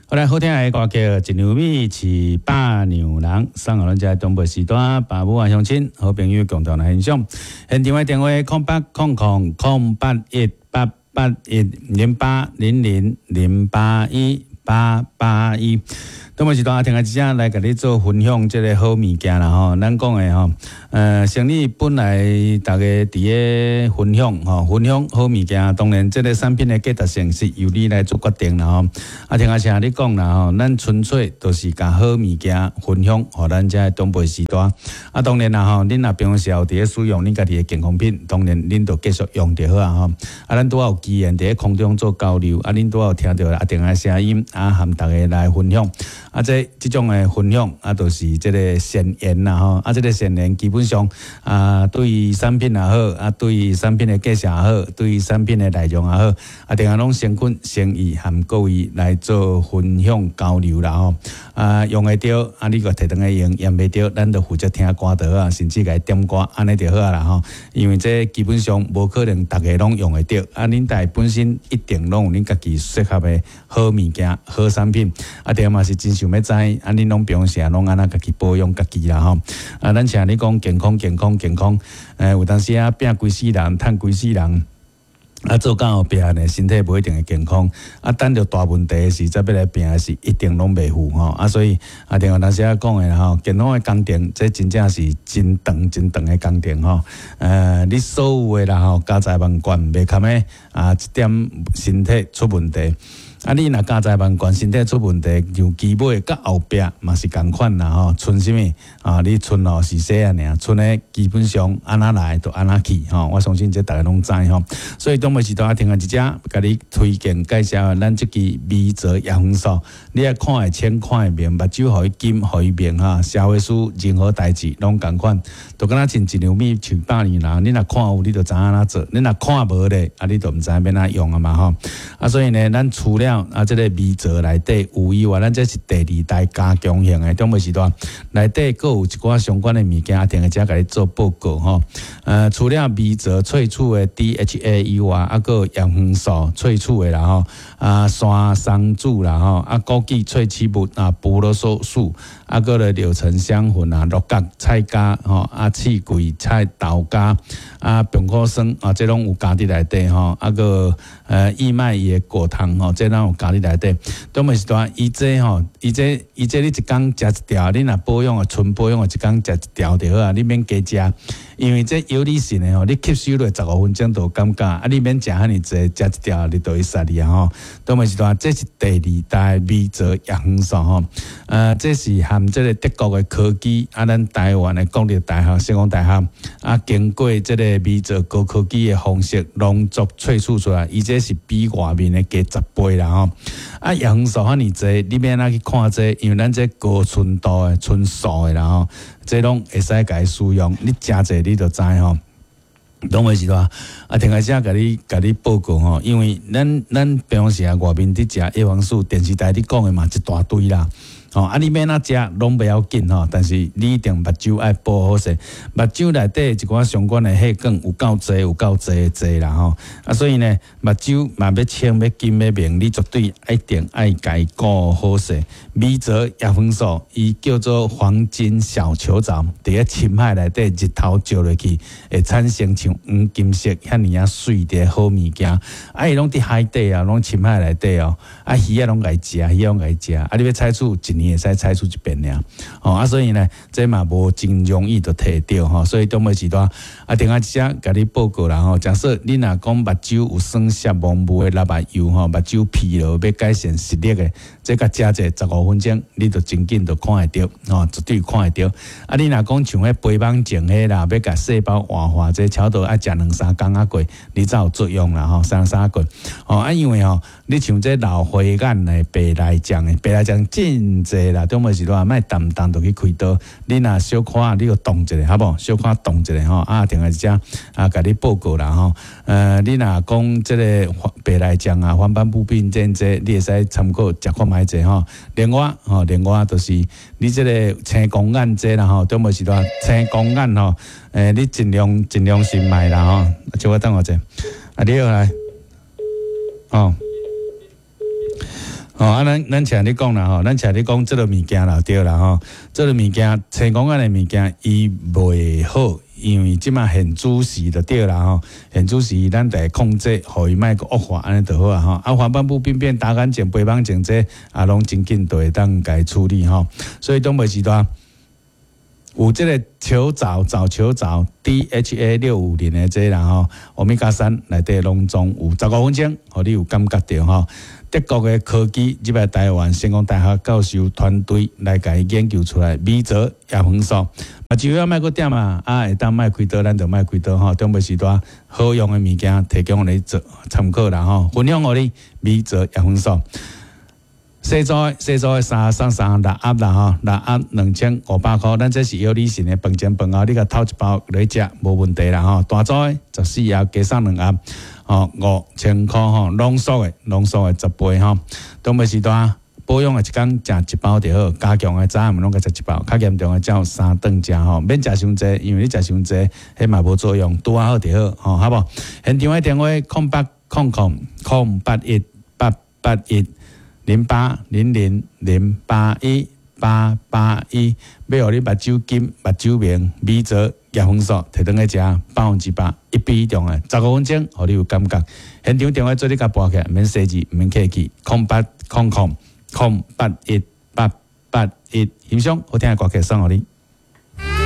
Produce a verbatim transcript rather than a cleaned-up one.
好來，好聽的歌曲《一兩米飼百兩人》，送予咱遮長輩時段，爸母啊鄉親、好朋友共同來欣賞。現場的電話：空八空空空八一八八一零八零零零八一八八一。長輩時段，聽下一聲來共你做分享這个好物件啦吼。咱講的吼，呃，生理本來逐家佇咧分享吼，分享好物件，當然這个產品的價值性是由你來做決定啦吼。啊，聽阿聲你講啦吼，咱純粹就是共好物件分享，予咱遮長輩時代。啊，當然啦吼，恁若平常時佇咧使用恁家己的健康品，當然恁就繼續用就好啊吼。啊，咱拄仔有機緣佇咧空中做交流，啊，恁拄仔有聽著阿定的聲音，啊，和逐家來分享。啊，這這種的分享啊，就是這个善緣啦吼。啊，這个善緣基本上啊，對於產品也好，啊，對於產品的介紹也好，對於產品的內容也好，啊，定下攏誠懇誠意和各位來做分享交流啦吼。啊，用會著，啊，你閣提轉來用，用袂著，咱就負責聽歌就好啊，甚至共伊點歌，按呢就好啊啦吼。因為這基本上無可能逐个攏用會著，啊，恁家本身一定攏有恁家己適合的好物件、好產品，啊，對嘛是真想欲知，啊，恁攏平常時攏按怎家己保養家己啦吼。啊，咱請你講健康、健康、健康，欸，有當時啊，拼規世人，趁規世人。啊，做到後壁呢，身體無一定會健康。啊，等著大問題的時，才欲來拼的時，一定攏袂赴吼。啊，所以啊，另外當時仔講的吼，健康的工程，這真正是真長、真長的工程吼。呃，你所有的啦吼，家財萬貫袂堪的啊，一點身體出問題。啊，你若家財萬貫，身體出問題，由基尾到後壁嘛是仝款啦吼。賰啥物啊？你賰哦是細漢爾，賰的基本上按怎來就按怎去吼。我相信這逐家攏知吼。所以長輩時代聽下一隻，共你推薦介紹咱這支微澤葉黃素，你愛看會清，看會明，目睭予伊金，予伊明哈。社會事任何代誌攏仝款，就敢若像一兩米飼百兩人，你若看有，你就知按怎做；你若看無咧，啊，你就毋知欲按怎用啊嘛吼。啊，所以呢，咱除了啊，這个微澤內底有以外，咱這是第二代加強型的長輩時代，內底閣有一寡相關的物件，定會遮共你做報告吼。呃，除了微澤萃取的 D H A 以外，啊，閣有葉黃素萃取的啦吼，啊，山松子啦吼，啊，枸杞萃取物啊，葡萄素素，啊，閣咧柳橙香粉啊，鹿角菜膠吼，啊，刺桂菜豆莢啊，苹果酸啊，這攏有加佇內底吼，啊，閣呃，燕麥伊的果糖吼，這攏有加佇內底。長輩時代，伊這吼，伊這伊這你一工食一條，你若保養的純保養的，一工食一條就好啊，你免加食，因為這藥理性的吼，你吸收落十五分鐘就有感覺，啊，你免食遐爾濟，食一條你就會殺你啊吼。長輩時代，這是第二代微澤葉黃素吼，呃，這是含這个德國的科技，啊，咱台灣的國立大學、成功大學，啊，經過這个微澤高科技的方式濃縮萃取出來，伊這是比外面的加十倍啦吼。啊，葉黃素遐爾濟，你欲按怎去看這個？因為咱這高純度的、純素的啦吼，這攏會使共伊使用，你食者你就知吼。長輩時代，啊，聽下聲共你共你報告吼，因為咱咱平常時啊，外面佇食葉黃素，電視台咧講的嘛一大堆啦。吼，啊，你欲按怎食攏袂要緊吼，但是你一定目睭愛保好勢，目睭內底一寡相關的血管有夠濟，有夠濟濟啦吼。啊，所以呢，目睭嘛欲清欲金欲明，你絕對一定愛共伊顧好勢。微澤葉黃素，伊叫做黃金小球藻，佇咧深海內底日頭照落去，會產生像黃金色遐爾仔媠的好物件。啊，伊攏佇海底啊，攏深海內底哦。啊，魚仔攏共伊食，魚仔攏共伊食。啊，你欲採取一年會使採取一遍爾。吼，啊，所以呢，這嘛無真容易就提著吼。所以長輩時代，啊，另外一隻共你報告啦吼。假設你若講目睭有酸澀蒙霧的蠟目油吼，目睭疲勞欲改善視力的，這共食者十五分鐘，你就真緊就看會著吼，絕對看會著。啊，你若講像彼肥網症彼啦，欲共細胞活化，這差不多愛食兩三工仔過，你才有作用啦吼，三三過。吼，啊，因為吼，你像這老花眼的白內障的，白內障真濟啦，長輩時代莫動動就去開刀。你若小可你就動一下，好無？小可動一下吼，啊，定來遮啊，共你報告啦吼。呃，你若講這个白內障啊、黃斑部病症這，你會使參考食看覓者吼。另外吼，另外就是你這个青光眼這啦吼，長輩時代青光眼吼，欸，你盡量盡量是莫啦吼。小可等我者，啊，你好來，哦。吼，啊，咱咱請你講啦吼，咱請你講這个物件啦，對啦吼，這个物件，青光眼的物件，伊袂好，因為這馬現主時就對啦吼，現主時咱得控制，予伊莫閣惡化，按呢就好啊吼。啊，黃斑部病變、達眼症、白網症這啊，攏真緊就會當共處理吼。所以東北時段有這个球藻、藻球藻 D H A 六五零的這啦吼，歐米伽三內底攏總有十五分鐘，予你有感覺著吼。德國的科技入來台灣，成功大學教授團隊來共伊研究出來，米澤葉黃素，目睭仔莫閣點啊，啊會當莫開刀，咱就莫開刀吼。中尾時段好用的物件提供予你做參考啦吼，分享予你米澤葉黃素。細組的細組的三送三六盒啦吼，六盒兩千五百箍，咱這是藥理神的飯前飯後，你共透一包來食無問題啦吼。大組的十四盒加送兩盒，吼五千箍吼，濃縮的濃縮的十倍吼。中尾時段保養的一工食一包就好，加強的早暗攏共食一包，較嚴重的才有三頓食吼，免食傷濟，因為你食傷濟，彼嘛無作用，拄仔好就好吼，好無？現場的電話空八空空空八一八八一。零八零零零八一八八一，欲予你目睭金、目睭明，米澤葉黃素提轉去食，百分之百一比一中的，十五分鐘，予你有感覺。現場電話做你共撥起來，毋免細緻，毋免客氣，空八空空空八一八八一，欣賞好聽的歌曲送予你。